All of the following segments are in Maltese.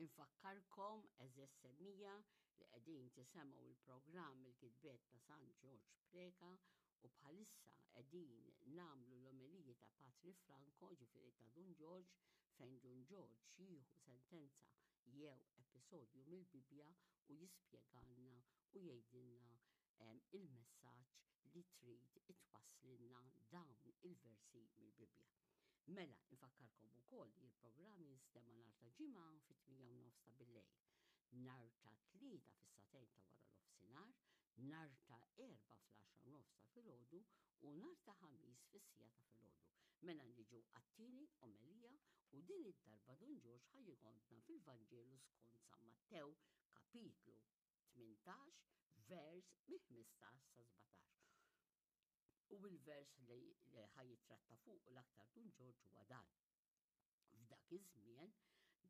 Infakkarkom, għeżież semmiegħa, li qegħdin tisemgħu l-programm Il-Kitbiet ta' San Ġorġ Preca u bħalissa qegħdin nagħmlu l-omeliji ta' Patri Franco, ġifieri ta' Dun Ġorġ, fejn Dun Ġorġ jieħu sentenza jew episodju mill-Bibbja u jispjegalna u jgħidilna il-messaġġ li trid itwasslilna dawn il-versi mill-Bibbja. Mela, infakkarkom ukoll li l-programm jinstema' nhar ta' Ġimgħa fit-8 u nofs ta' billejl, nhar ta' Tlieta fis-sagħtejn ta' wara nofsinhar, nhar ta' Erbgħa fl-għaxra u nofs ta' filgħodu u nhar ta' Ħamis fis-siegħa ta' filgħodu. Mela niġu għat-tieni omelija u din id-darba Dun Ġorġ ħa jieħodna fil-Vanġelu skont San Mattew, kapitlu 18, vers mill-15 sa 17. U il-vers li ħa jitratta fuq l-aktar Dun Ġorġ huwa dan. F'dak iż-żmien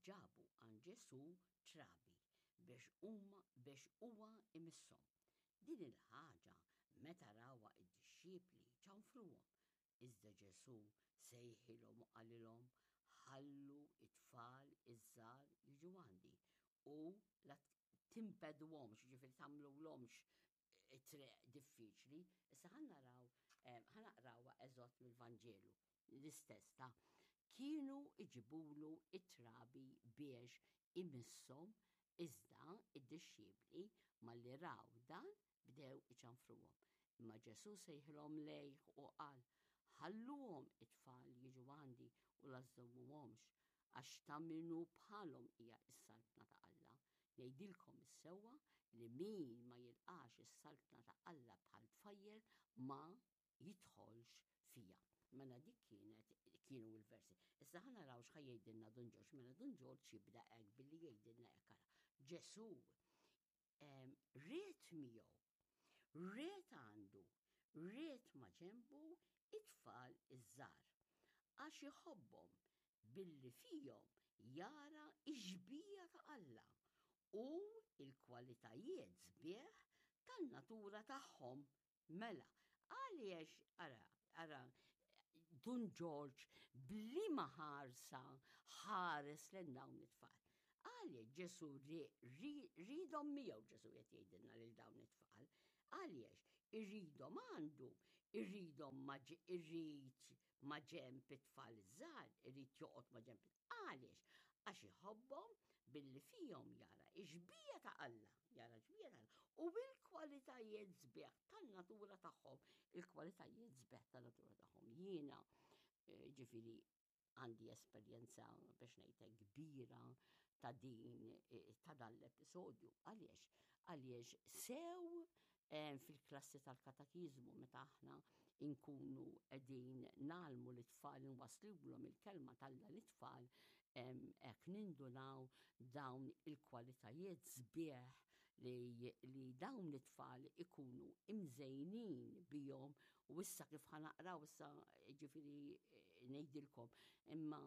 ġabu għand Ġesù trabi biex huma biex huwa imisshom. Din il-ħaġa meta rawha id-dixxipli ċanfruhom. Iżda Ġesù sejħilhom u qalilhom, Ħallu t-tfal iż-żgħar jiġu għandi u la timpeduhomx, jiġifieri tagħmlulhomx it-triq diffiċli. Issa ħa naraw, ħa naqrawha eżott mill-Vanġelu, l-istess ta' kienu iġibulu it-trabi biex imisshom, iżda id-dixxipli malli raw dan bdew iċanfruhom. Imma Ġesù sejħilhom lejh u qal, Ħalluhom it-tfal jiġu għandi u la żżommuhomx, għax ta' min hu bħalhom hija s-saltna ta' Alla. Ngħidilkom is-sewwa li min ma jilqax is-saltna ta' Alla bħal tfajjel ma jidħolx fiha. Mela dik kienet kienu l-versi. Issa ħa naraw x'ħa jgħidilna Dun Ġorġ. Mela Dun Ġorġ jibda hekk billi jgħidilna hekk ara. Ġesù ried miegħu, ried għandu, ried ma' ġenbu it-tfal iż-żgħar għax iħobbhom billi fihom jara x-xbieha ta' Alla u l-kwalitajiet sbieħ tan-natura tagħhom. Mela, għaliex, ara, ara, Dun Ġorġ b'liema ħarsa ħares lejn dawn it-tfal. Għaliex Ġesu ridhom miegħu Ġesu qed jgħidilna lil dawn it-tfal. Għaliex irridhom għandu, irridhom ma irrid ma ġenb it-tfal iż-żgħar, irid joqgħod ma ġenb Għaliex? Għax iħobbhom billi fihom jara ix-xbieha ta' Alla, jara xbieha ta' Alla u bil-kwalitajiet sbieħ tan-natura tagħhom, il-kwalitajiet sbieħ tan-natura tagħhom. Jiena eh, ġifieri għandi esperjenza biex ngħidlek kbira ta' din eh, ta' dan l-episodju. Għaliex? Għaliex sew eh, fil-klassi tal-katakizmu meta aħna inkunu qegħdin nagħlmu l-tfal nwaslulhom il-kelma t'Alla lit-tfal hekk nindunaw dawn il-kwalitajiet sbieħ li, li dawn it-tfal ikunu imżejnin bihom u issa kif ħanaqraw issa ġifieri eh, ngħidilkom imma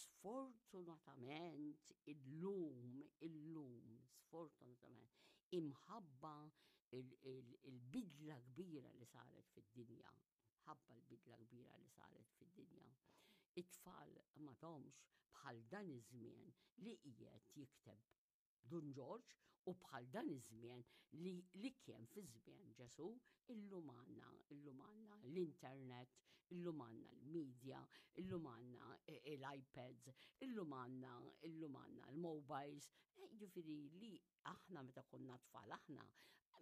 sfortunatament illum illum sfortunatament imħabba il-bidla kbira li saret fid-dinja, ħabba l-bidla kbira li saret fid-dinja. It-tfal m'għadhomx bħal dan iż-żmien li qiegħed jikteb Dun Ġorġ u bħal dan iż-żmien li, li kien fi żmien Ġesu, illum għandna, illum għandna l-internet, illum għandna l-media, illum għandna l-iPads, illum għandna, illum għandna l-mobiles, eh, ġifieri li Aħna meta konna tfal aħna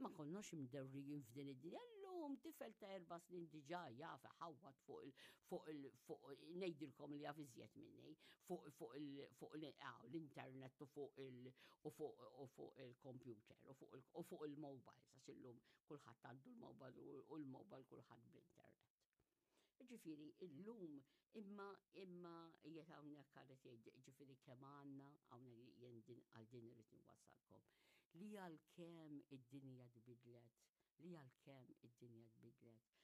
ma konnox imdewrijin f'din id-dinja. Illum tifel ta' erba' snin diġà jaf iħawwad fuq il fuq il fuq ngħidilkom li jaf iżjed minni fuq fuq il fuq l-internet u fuq il u fuq u fuq il-computer u fuq il u fuq il-mobiles għax illum kulħadd għandu l-mobile u l-mobile kulħadd bl-internet. Ġifieri illum imma imma qiegħed hawnhekk għalet jgħid ġifieri kemm għandna hawnhekk jien din għal din irid nwassalkom li għalkemm id-dinja tbidlet, li għalkemm id-dinja tbidlet.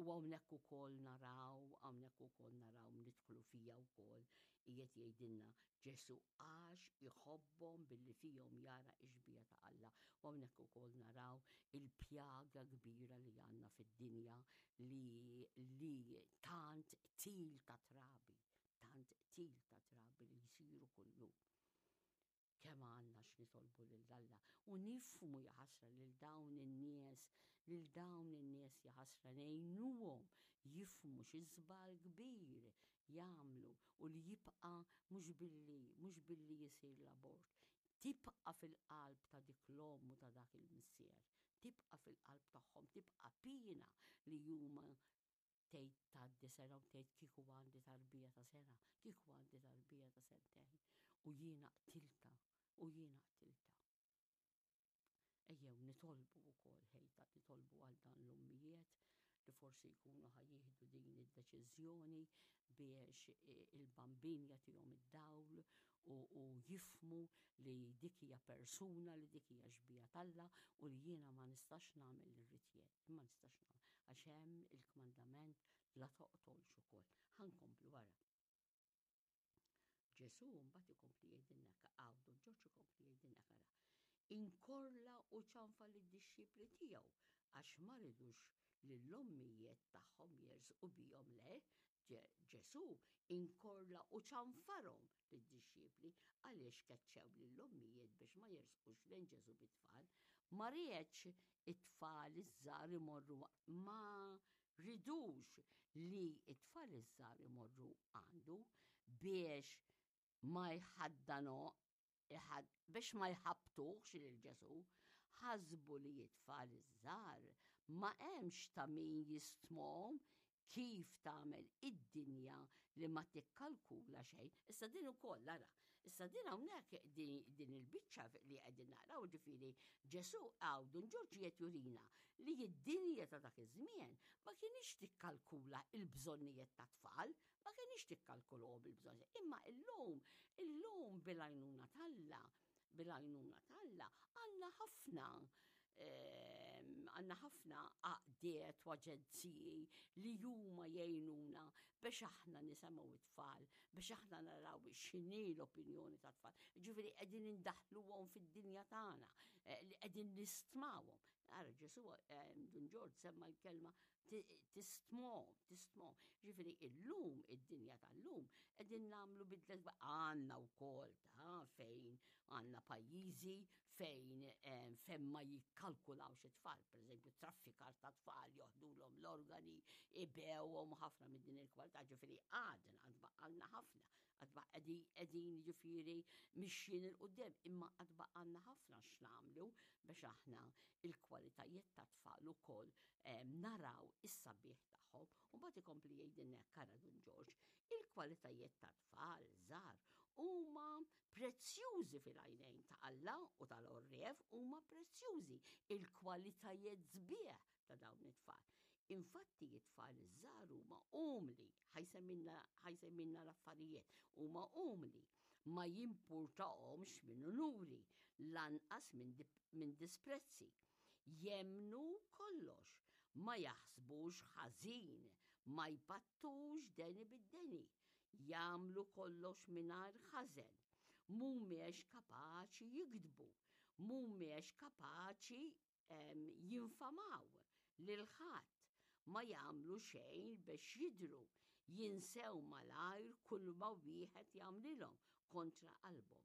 U hawnhekk ukoll naraw, hawnhekk ukoll naraw nidħlu fija wkoll qiegħed jgħidilna Ġesu għax iħobbhom billi fihom jara x-xbieha ta' Alla. U hawnhekk ukoll naraw il-pjaga kbira li għandna fid-dinja li, li tant til ta' trabi, tant til ta' trabi li jsiru kuljum. Kemm għandna x'nitolbu lil Alla u nifhmu jaħasra lil dawn in-nies, lil dawn in-nies jaħasra ngħinuhom jifhmu xi żball kbir jagħmlu u li jibqa' mhux billi mhux billi jsir l-abort, tibqa' fil-qalb ta' dik l-omm u ta' dak il-missier, tibqa' fil-qalb tagħhom, tibqa' piena li huma tgħid tgħaddi sena u tgħid kieku għandi tarbija ta' sena, kieku għandi tarbija ta' sentejn u jiena qtiltha u jiena qtiltha. Ejjew nitolbu wkoll ħejta nitolbu għal dan l-ommijiet li forsi jkunu ħa jieħdu din id-deċiżjoni biex il-bambin jagħtihom id-dawl u, u jifmu li dik hija persuna, li dik hija xbija t'Alla u li jiena ma nistax nagħmel li rrid jien, ma nistax nagħmel għax hemm il-kmandament la toqtolx ukoll. Ħa nkomplu wara. Ġesù mbagħad ikompli jgħidilna hawn Dun Ġorġ ikompli jgħidilna ara. Inkorla u ċanfa lid-dixxipli tiegħu għax ma ridux li l-ommijiet tagħhom jersqu bihom le, Ġesù inkorla u ċanfarhom lid-dixxipli għaliex keċċew lill-ommijiet biex ma jersqux lejn Ġesù bit-tfal. Ma riedx it-tfal iż-żgħar imorru ma ridux li t-tfal iż-żgħar imorru għandu biex ma jħaddano biex ma jħabbtuhx lil Ġesù, ħasbu li t-tfal iż-żgħar ma hemmx ta' min jistmhom kif tagħmel id-dinja li ma tikkalkula xejn. Issa din ukoll ara, issa din hawnhekk din il-biċċa li qegħdin naqraw ġifieri Ġesù hawn Dun Ġorġ qed jurina li d-dinja ta' dak iż-żmien ma kienx tikkalkula l-bżonnijiet tat-tfal, ma kienx tikkalkulhom il-bżonnijiet. Imma illum, illum bil-għajnuna t'Alla, bil-għajnuna t'Alla, għandna ħafna ehm, għandna ħafna għaqdiet u aġenziji li huma jgħinuna biex aħna nisemgħu it-tfal, biex aħna naraw x'inhi l-opinjoni tat-tfal. Ġifieri qegħdin indaħluhom fid-dinja tagħna, eh, li qegħdin nistmawhom. Ara Ġesu ehm, Dun Ġorġ semma l-kelma tistmom, tistmom. Ġifieri illum, id-dinja tal-lum, qegħdin nagħmlu bidlet għandna wkoll ta' fejn għandna pajjiżi fejn eh, fejn ma jikkalkulawx it-tfal, pereżempju traffikar ta' tfal joħdulhom l-organi, ibewhom ħafna minn din il-kwalità, ġifieri għadna għad baqgħalna ħafna, għad qegħdin ġifieri mixjin 'il quddiem, imma għad baqgħalna ħafna x'nagħmlu biex aħna il-kwalitajiet ta' tfal ukoll naraw is-sabiħ tagħhom. U mbagħad ikompli jgħidilna hekk ara Dun Ġorġ, il-kwalitajiet ta' tfal żgħar huma prezzjużi fil-għajnejn ta' Alla u tal-għorrief huma prezzjużi il-kwalitajiet sbieħ ta' dawn it-tfal. Infatti it-tfal iż-żgħar huma umli, ħajsemmilna l-affarijiet, huma umli, ma jimpurtahomx minn unuri, lanqas minn disprezzi. Jemmnu kollox, ma jaħsbux ħażin, ma jpattux deni bid-deni, jagħmlu kollox mingħajr ħażen, mhumiex kapaċi jigdbu, mhumiex kapaċi jinfamaw lil ħadd, ma jagħmlu xejn biex jidhru, jinsew malajr kulma wieħed jagħmlilhom kontra qalbhom.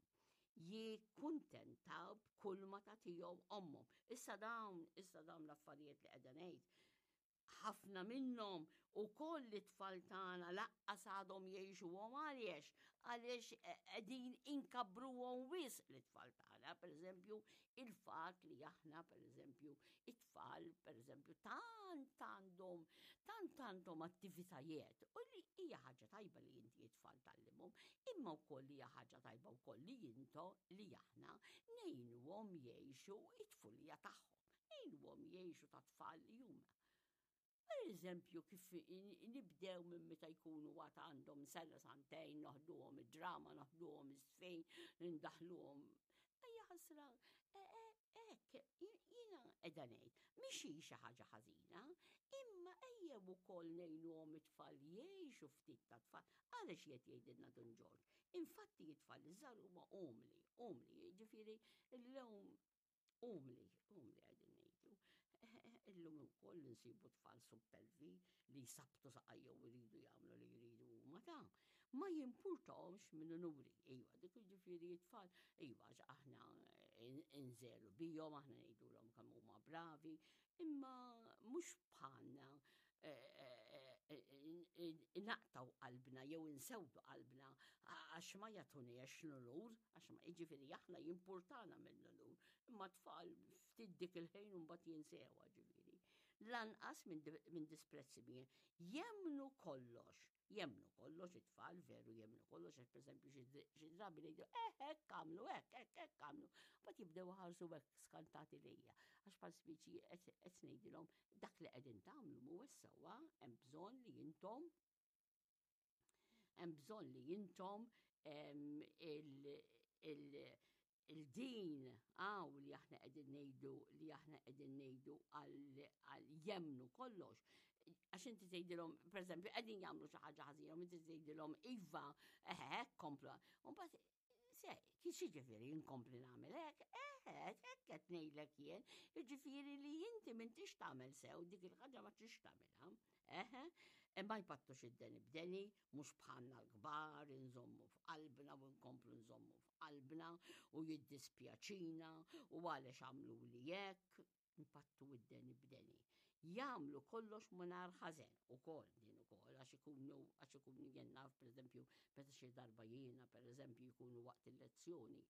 Jikkuntentaw b'kulma tagħtihom ommhom. Issa dawn, issa dawn l-affarijiet li qiegħda ngħid, ħafna minnhom ukoll it-tfal tagħna laqqas għadhom jgħixuhom għaliex għaliex qegħdin inkabbruhom wisq l-tfal tagħna, pereżempju il-fatt li aħna pereżempju it-tfal pereżempju tant għandhom tant għandhom attivitajiet u li hija ħaġa tajba li inti it-tfal tgħallimhom, imma wkoll hija ħaġa tajba wkoll li jinto li aħna ngħinuhom jgħixu it-tfulija tagħhom. Ngħinuhom jgħixu ta' tfal li huma. Per eżempju, kif nibdew minn meta jkunu għad għandhom sena santejn, noħduhom id-drama, noħduhom iż-żfin, nindaħluhom. Ejja ħasra, e, e, hekk, jiena qiegħda ngħid, mhix hi xi ħaġa ħażina, imma ejjew ukoll ngħinuhom it-tfal jgħixu ftit ta' tfal. Għaliex qed jgħidilna Dun Ġorġ? Infatti it-tfal iż-żgħar huma umli, umli, jiġifieri llum Umli, umli qegħdin ngħidu. Illum ukoll insibu tfal suppelvi li jsabtu saqajhom u jridu jagħmlu li jridu huma ta'. Ma jimpurtahomx minn unuri. Iva, dik jiġifieri t-tfal, iva għax aħna inżelu bihom, aħna ngħidulhom kemm huma bravi, imma mhux bħalna naqtgħu qalbna jew insewdu qalbna għax ma jagħtuniex l-unur, għax ma jiġifieri aħna jimpurtana mill-unur, imma t-tfal ftit dik il-ħin u mbagħad jinsewha ġifieri. Lanqas minn disprezzi jemmnu kollox. Jemmnu kollox it-tfal, veru jemmnu kollox, għax pereżempju xi drabi ngħidu eh hekk għamlu, hekk hekk hekk għamlu. Mbagħad jibdew iħarsu hekk skantati lejja, għax bħal spiċi qed ngħidilhom dak li qegħdin tagħmlu mhuwiex sewwa, hemm bżonn li intom hemm bżonn li intom il-din għaw li aħna qegħdin ngħidu li aħna qegħdin ngħidu għal jemnu kollox. Għax inti tgħidilhom, pereżempju, qegħdin jagħmlu xi ħaġa ħażina, u inti tgħidilhom iva, eħe, hekk kompla. U mbagħad se, kif jiġifieri nkompli nagħmel hekk? Eħe, hekk qed ngħidlek jien, jiġifieri li inti m'intix tagħmel sew dik il-ħaġa ma tix tagħmilha. Eħe, e ma jpattux id-deni b'deni, mhux bħalna l-kbar, inżommu f'qalbna u nkomplu nżommu f'qalbna u jiddispjaċina u għaliex għamluli hekk, npattu id-deni b'deni. Jagħmlu kollox mingħajr ħażen ukoll din ukoll għax ikunu għax ikunu jien naf pereżempju meta xi darba jiena pereżempju jkunu waqt il-lezzjoni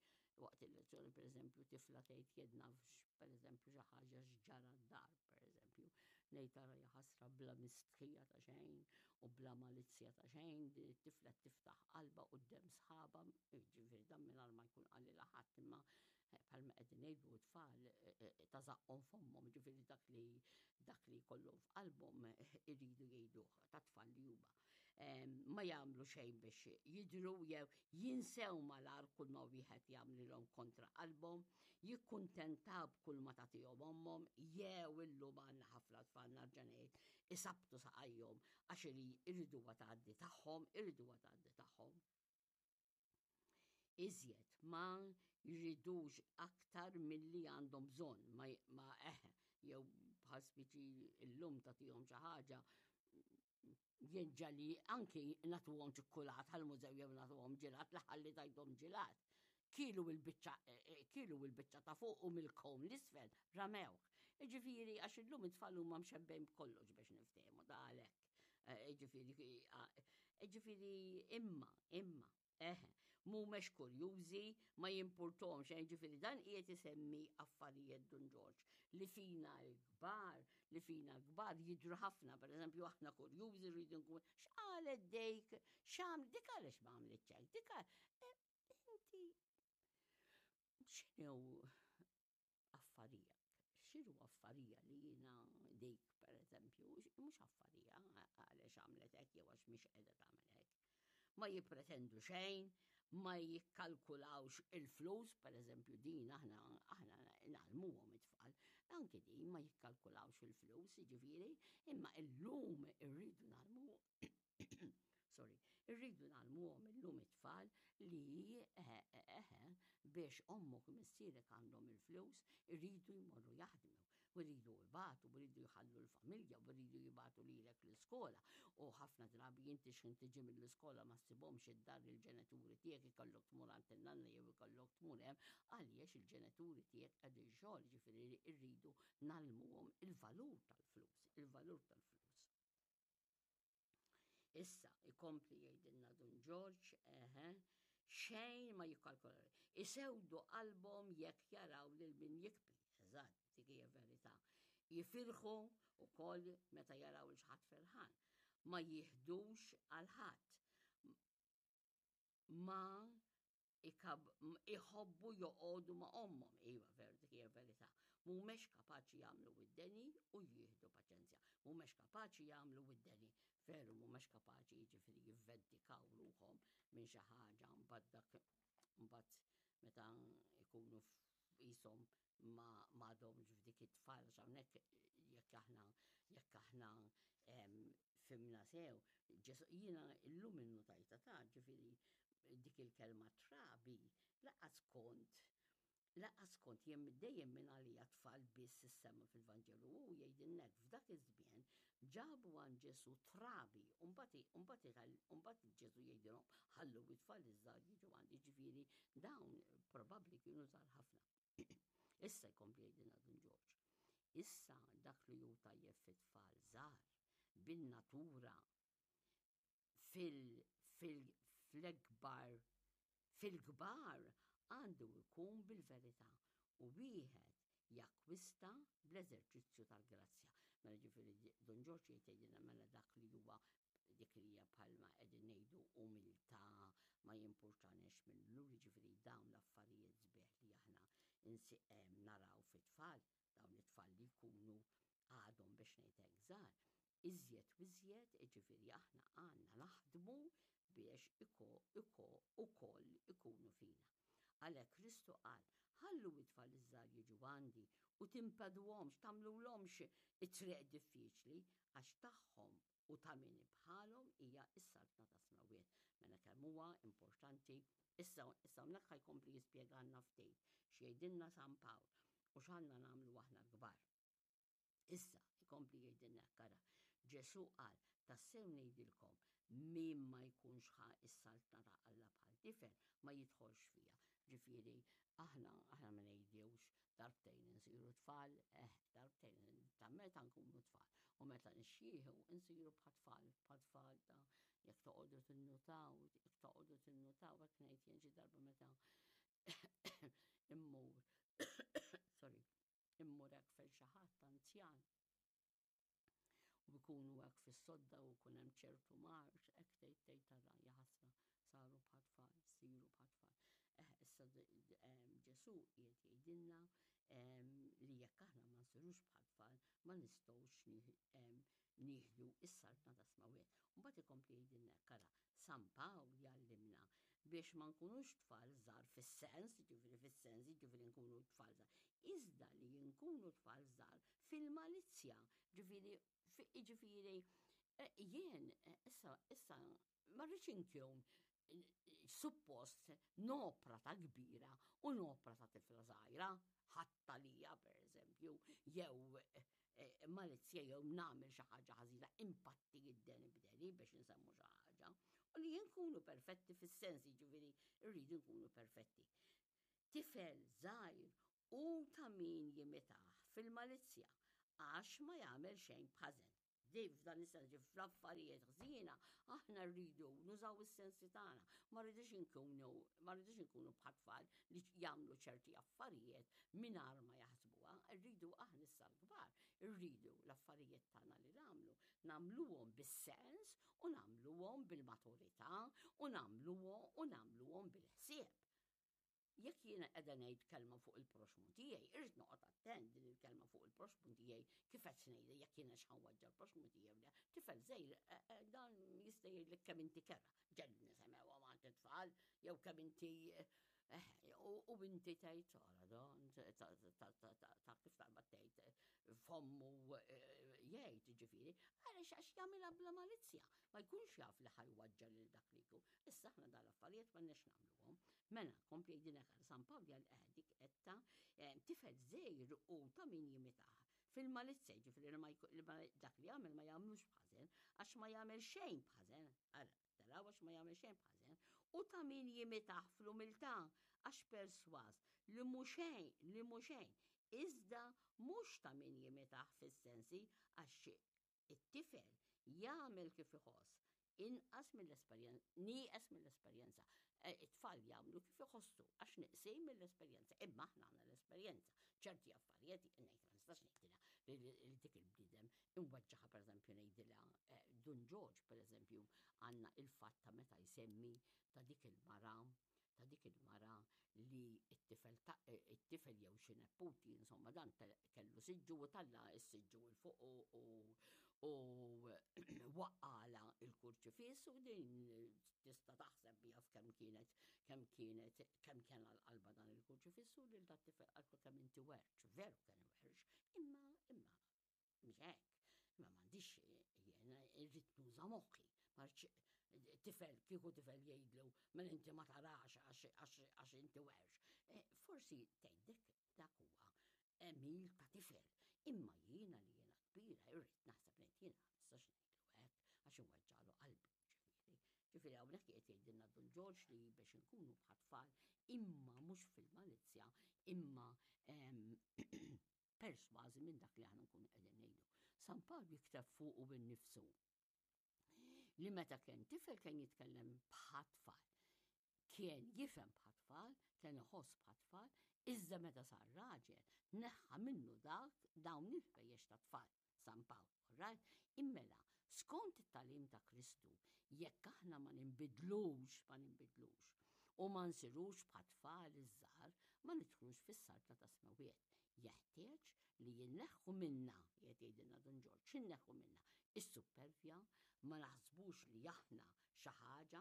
waqt il-lezzjoni pereżempju tifla tgħid jien naf pereżempju xi ħaġa x'ġara d-dar pereżempju ngħid ara jaħasra bla mistħija ta' xejn u bla malizzja ta' xejn din it-tifla tiftaħ qalbha quddiem sħabha jiġifieri dan mingħajr ma jkun qalilha ħadd imma bħalma qegħdin ngħidu t-tfal ta' żaqqhom f'ommhom, jiġifieri dak li dak li jkollhom f'qalbhom iridu jgħiduh ta' tfal li huma. Ma jagħmlu xejn biex jidhru jew jinsew malar kull ma wieħed jagħmlilhom kontra qalbhom, jikkuntentaw b'kull ma tagħtihom ommhom jew illum għandna ħafna tfal narġa' ngħid isabbtu saqajhom għax iriduha tgħaddi tagħhom, iriduha tgħaddi tagħhom. Iżjed ma jridux aktar milli għandhom bżonn, ma, ma eħe, jew bħal spiċi illum tagħtihom xi ħaġa jien ġali anki nagħtuhom ċikkulat għall-mużew jew nagħtuhom ġilat li ħalli tajthom ġilat. Kielu il-biċċa eh, eh, kielu il-biċċa ta' fuq u mill-kom l-isfel ramewh. Ġifieri għax illum it-tfal huma mxebbejn b'kollox biex niftehmu da għalhekk. Eh, ġifieri, eh, ġifieri imma, imma, eħe, mhumex kurjużi, ma jimpurtomx, eh, ġifieri dan qiegħed isemmi affarijiet Dun Ġorġ li fina l-kbar, li fina l-kbar jidru ħafna, per eżempju aħna kurjużi rridu nkun, x'qalet dejk, x'għaml, dik għaliex ma għamlitx hekk, dik inti x'inhu affarijak. X'inhu affarija li jiena dik, per eżempju, mhux affarija għaliex għamlet hekk jew għax mhix qiegħda tagħmel hekk. Ma jippretendu xejn, ma jikkalkulawx il-flus, per eżempju din aħna aħna ngħallmuhom it-tfal, anki din ma jikkalkulawx il-flus, jiġifieri, imma illum irridu ngħallmu sorry, irridu ngħallmuhom illum it-tfal li eħe eħe biex ommok u missierek għandhom il-flus, iridu jmorru jaħdmu, u jridu jbatu, u jridu jħallu l-familja, u jridu jibatu lilek l-iskola. U ħafna drabi inti x'ħin tiġi mill-iskola ma ssibhomx id-dar il-ġenituri tiegħek ikollok tmur għand in-nanna jew ikollok tmur hemm għaliex il-ġenituri tiegħek qegħdin xogħol, ġifieri rridu ngħallmuhom il-valur tal-flus, il-valur tal-flus. Issa, ikompli jgħidilna Dun Ġorġ, eħe, xejn ma jikkalkolaw. Isewdu qalbhom jekk jaraw lil min jikbi. Eżatt, dik hija verità. Jifirħu wkoll meta jaraw il ħadd ferħan. Ma jieħdux għal ħadd. Ma iħobbu joqogħdu ma' ommhom. Iva, veru dik hija verità. Mhumiex kapaċi jagħmlu id-deni u jieħdu paċenzja. Mhumiex kapaċi jagħmlu id-deni. Veru mhumiex kapaċi jiġifieri jivvendikaw ruħhom minn xi ħaġa mbagħad dak mbagħad meta jkunu qishom ma m'għadhomx f'dik it-tfal għax hawnhekk jekk aħna jekk aħna fimna sew, Ġesu jiena illum innutajta ta' ġifieri dik il-kelma trabi laqas kont. Lanqas kont jien dejjem minn għalija tfal biss issemma fil-Vanġelu u jgħidilna hekk f'dak iż-żmien ġabu għand Ġesù trabi u mbagħad mbagħad Ġesù jgħidilhom ħallu it-tfal iż-żgħar jiġu għandi ġifieri dawn probabbli kienu żgħar ħafna. Issa jkompli jgħidilna Dun Ġorġ. Issa dak li hu tajjeb fit-tfal żgħar bin-natura fil-kbar fil-kbar għandu jkun bil-verità u wieħed jakkwista bl-eżerċizzju tal-grazzja. Mela ġifieri Dun Ġorġ jgħid jgħidilna mela dak li huwa dik li hija bħalma qegħdin ngħidu umiltà ma jimpurtaniex minnu, jiġifieri dawn l-affarijiet sbieħ li aħna naraw fit-tfal, dawn it-tfal li jkunu għadhom biex ngħid hekk żgħar, iżjed u iżjed, jiġifieri aħna għandna naħdmu biex ukoll ikunu fina. Għalhekk Kristu qal, Ħallu it-tfal iż-żgħar jiġu għandi u timpeduhomx, tagħmlulhomx it-triq diffiċli, għax tagħhom u ta' min bħalhom hija s-saltna tas-smewwiet. Mela kemm huwa importanti. Issa, issa hawnhekk ħa jkompli jispjegalna ftit x'jgħidilna San Pawl u x'għandna nagħmlu aħna l-kbar. Issa, ikompli jgħidilna hekk, ara, Ġesù qal, Tassew ngħidilkom, min ma jkunx ħa s-saltna ta' Alla bħal tifel, ma jidħolx fiha. Ġifieri, aħna, aħna ma ngħidux darbtejn insiru tfal, eh, darbtejn ta' meta nkunu tfal. U meta nixjieħu nsiru bħat-tfal, bħat-tfal ta' jekk toqogħdu tinnutaw, jekk toqogħdu tinnutaw, hekk ngħid jien xi darba meta immur, sorry, immur hekk fejn xi ħadd anzjan u jkunu hekk fis-sodda u jkun hemm ċertu mard, hekk tgħid tgħid tara jaħasra saru bħat-tfal, siru bħat-tfal. Eh, issa Ġesù qiegħed jgħidilna li jekk aħna ma nsirux bħat-tfal ma nistgħux nieħdu s-saltna tas-smewwiet. Mbagħad ikompli jgħidilna hekk ara, San Pawl jgħallimna biex ma nkunux tfal żgħar fis-sens, jiġifieri fis-sens, jiġifieri nkunu tfal żgħar, iżda li nkunu tfal żgħar fil-malizzja, ġifieri jiġifieri eh, jien eh, issa issa ma rridx inkun eh, suppost nopra ta' kbira u nopra ta' tifla żgħira, ħadd għalija pereżempju, jew eh, malizzja jew nagħmel xi ħaġa ħażina impatti id-deni b'deni biex insemmu xi ħaġa. U li nkunu perfetti fis-sens, jiġifieri rridu nkunu perfetti. Tifel żgħir u ta' min jimitah fil-malizzja għax ma jagħmel xejn b'ħażen. Dej f'dan is-sens fl-affarijiet ħżiena aħna rridu nużaw is-sensi tagħna. Ma rridux inkunu ma rridux inkunu bħat-tfal li jagħmlu ċerti affarijiet mingħajr ma jaħsbuha. Rridu aħna issa l-kbar, rridu l-affarijiet tagħna li nagħmlu, nagħmluhom bis-sens u nagħmluhom bil-maturità u nagħmluhom u nagħmluhom bil-ħsieb. Jekk jiena qiegħda ngħid kelma fuq il-proxxmu tiegħi, irrid noqgħod attent din il-kelma fuq il-proxxmu tiegħi kif qed ngħidha jekk jiena x'ħanwaġġa l-proxxmu tiegħi le. Tifel żgħir eh, eh, dan jista' jgħidlek kemm inti kerha. Ġelli nisemgħuha ma' tfal jew kemm inti eh, u inti tgħid ara dan ta' kif taqbad tgħid fommu jgħid ġifieri, għaliex għax jagħmilha bla malizzja, ma jkunx jaf li ħajwaġġa lil dak li jkun. Issa aħna dal-affarijiet m'għandniex nagħmluhom. Mela, kompli jgħidilek għal San Pawl jgħal eh, dik etta eh, tifel żgħir u ta' min jimitah. Fil-malizzja, ġifieri li dak li jagħmel ma jagħmlux b'ħażen, għax ma jagħmel xejn b'ħażen, ara, taraw għax ma jagħmel xejn b'ħażen, u ta' min jimitah fl-umiltà, għax persważ li mhu xejn, li mhu xejn, iżda mhux ta' min jimitah fis-sensi għax It-tifel jagħmel kif iħoss, inqas mill-esperjenza, nieqes mill-esperjenza. E, it-tfal jagħmlu kif iħossu għax neqsin mill-esperjenza, imma aħna għandna l-esperjenza. Ċerti affarijiet ngħid ma nistax ngħidilha li dik il-bniedem imweġġaħa pereżempju ngħidilha e, Dun Ġorġ pereżempju għandna il-fatt ta' meta jsemmi ta' dik il-mara ta' dik il-mara li t-tifel ta' it-tifel jew xi neputi, insomma dan kellu siġġu u talla s-siġġu il fuq u u waqqala il-kurċifiss u din tista' taħseb bija f'kemm kienet kemm kienet kemm kien għal qalba dan il-kurċifiss u lil dat tifel qaltlu kemm inti werċ, veru kien werċ, imma imma Mhux hekk. Imma m'għandix jiena irrid nuża moħħi. Ma tifel kieku tifel jgħidlu mela inti ma tarax għax inti werx. Eh, forsi tgħid dak huwa għemil ta' tifel, imma jiena li jiena kbira irrid naħseb ngħid jiena ma nistax ngħidlu hekk għax inweġġagħlu qalbu ġifieri. Ġifieri hawnhekk qiegħed jgħidilna Dun Ġorġ li biex inkunu bħat-tfal imma mhux fil-malizzja imma persważi minn dak li aħna nkunu qegħdin ngħidu. San Pawl jikteb fuqu innifsu li meta kien tifel kien jitkellem bħat-tfal. Kien jifhem bħat-tfal, kien iħoss bħat-tfal, iżda meta sar raġel, neħħa minnu dak dawn il-ħwejjeġ ta' tfal, San Pawl, right? Immela, skont it-tagħlim ta' Kristu, jekk aħna ma ninbidlux, ma ninbidlux, u ma nsirux bħat-tfal iż-żgħar, ma nidħlux fis-saltna tas-smewwiet. Jeħtieġ li jinneħħu minna, qiegħed jgħidilna Dun Ġorġ, x'inneħħu minna? Is-suppervja, ma naħsbux li aħna xi ħaġa,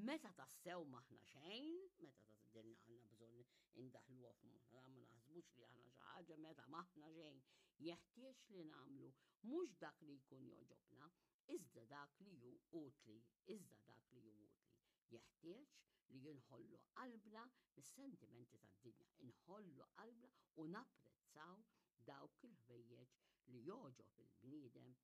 meta tassew m'aħna xejn, meta din għandna bżonn indaħluha f'moħħna, ma naħsbux li aħna xi ħaġa meta m'aħna xejn. Jeħtieġ li nagħmlu mhux dak li jkun jogħġobna, iżda dak li hu utli, iżda dak li hu utli. Jeħtieġ li inħollu qalbna mis-sentimenti tad-dinja, inħollu qalbna u napprezzaw dawk il-ħwejjeġ li jogħġob il-bniedem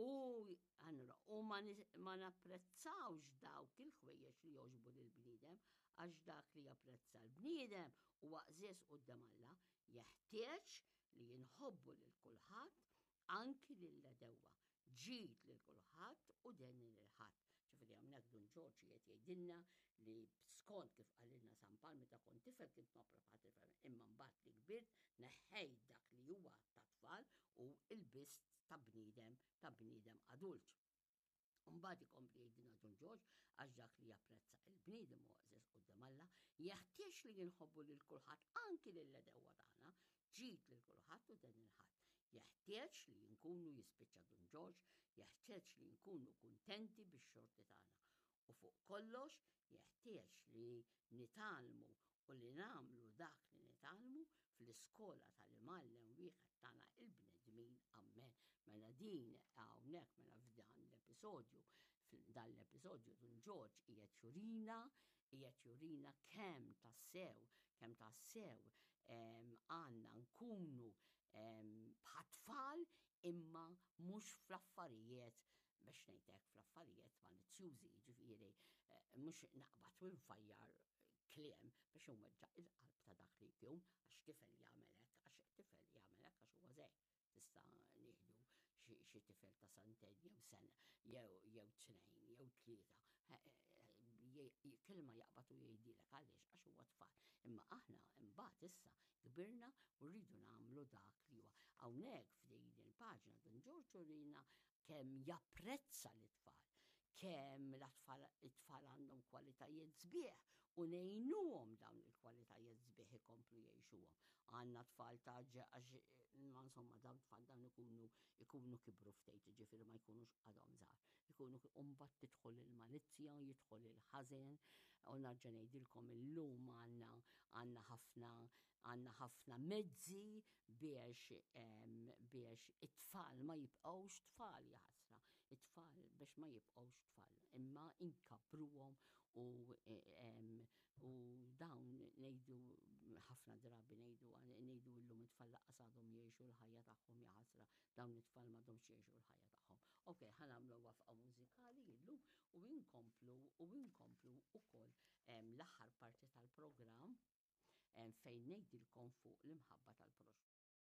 u allura u ma, ma napprezzawx dawk il-ħwejjeġ li jogħġbu lill-bniedem għax dak li japprezza l-bniedem huwa qżież quddiem Alla, jeħtieġ li jinħobbu lil kulħadd anki lill-għedewwa, ġid lil kulħadd u deni lil ħadd. Ġifieri hawnhekk Dun Ġorġ qiegħed jgħidilna li skont kif qalilna San Pawl meta kont tifel kint nopra bħal tifel, imma mbagħad li kbirt neħħejt dak li huwa ta' tfal u lbist ta' bniedem ta' bniedem adult. Mbagħad ikompli jgħidilna Dun Ġorġ għax dak li japprezza il-bniedem huwa għeżież quddiem Alla, jeħtieġ li jinħobbu lil kulħadd anki lill-għedewwa tagħna, ġid lil kulħadd u deni 'l ħadd. Jeħtieġ li nkunu jispiċċa Dun Ġorġ, jeħtieġ li nkunu kuntenti bix-xorti tagħna. U fuq kollox, jeħtieġ li nitgħallmu u li nagħmlu dak li nitgħallmu fl-iskola tal-Imgħallem wieħed tagħna il-bnedmin. Ammen. Mela din hawnhekk mela f'dan l-episodju, f'dan l-episodju Dun Ġorġ qiegħed jurina, qiegħed jurina kemm tassew, kemm tassew għandna nkunu bħat-tfal imma mhux fl-affarijiet biex ngħid hekk fl-affarijiet malizzjużi, jiġifieri eh, mhux naqbad u nfajjar kliem biex inweġġa' il-qalb ta' dak li jkun għax tifel jagħmel hekk, għax tifel jagħmel hekk għax huwa żgħir. Tista' nieħdu xi tifel ta' sentejn jew sena jew jew tnejn jew tlieta. Kelma jaqbad u jgħidilek għaliex għax huwa tfal. Imma aħna imbagħad issa kbirna u rridu nagħmlu dak li huwa. Hawnhekk f'din il-paġna Dun Ġorġ urina kemm japprezza l-itfal, kemm l-atfal it-tfal għandhom kwalitajiet sbieħ u ngħinuhom dawn il-kwalitajiet sbieħ ikomplu jgħixuhom. Għandna tfal ta' għax ma insomma dawn tfal dawn ikunu ikunu kibru ftit, ġifieri ma jkunux għadhom żgħar. Ikunu u mbagħad tidħol il-malizzja, jidħol il-ħażen, u narġa' ngħidilkom illum għandna għandna ħafna għandna ħafna mezzi biex biex it-tfal ma jibqgħux tfal jaħasra, it-tfal biex ma jibqgħux tfal, imma inkabbruhom u u dawn ngħidu ħafna drabi ngħidu ngħidu llum it-tfal laqqas għadhom jgħixu l-ħajja tagħhom jaħasra dawn it-tfal m'għadhomx jgħixu l-ħajja tagħhom. Ok, ħa nagħmlu waqfa mużikali illum u inkomplu u inkomplu ukoll l-aħħar parti tal-programm fejn ngħidilkom fuq l-imħabba tal-proxxmu.